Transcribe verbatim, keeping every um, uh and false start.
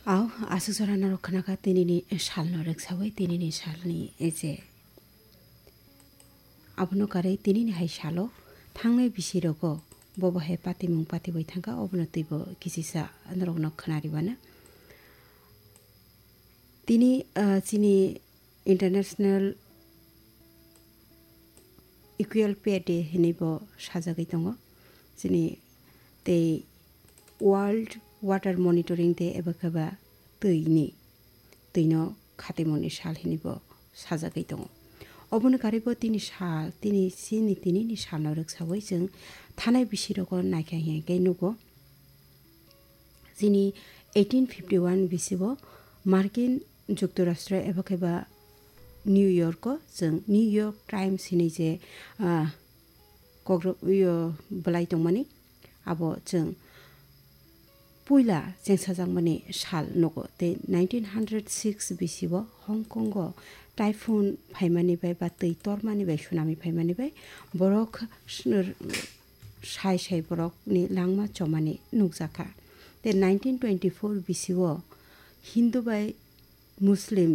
Au, aswk jora norok khnakha tinini salno rwksawi, tinini salni je. Abono karwi tinini hai salo thangnai bisirogo bobo hai patimung patiwi thangkha, obono twibo kisisa norokno khwnariwana. Tini, ah, chini International Equal Pay Day hinwi bo sajagwi tongo. Chini tei World Water Monitoring Day eba khe ba twini, twino khatimungni sal hinwi bo sajagwi tongo. Oboni karwi bo tini sal, tini chini tinini salno rwksawi chwng thanai bisirogo naikha hinkhe nugo. Chini eighteen fifty one bisibo Markin Juktorashtra eba khe ba New York o chwng New York Times hinwi je, ah, kokrok, yo, bwlai tongmani, abo chwng puila chengsajakmani sal nugo. Tei nineteen hundred six bisibo Hong Kong o typhoon phaimani bai ba twi tormani bai, tsunami phaimani bai borok swnr-, sai sai borokni langma chomani nukjakha. Tei nineteen twenty four bisibo Hindu bai Muslim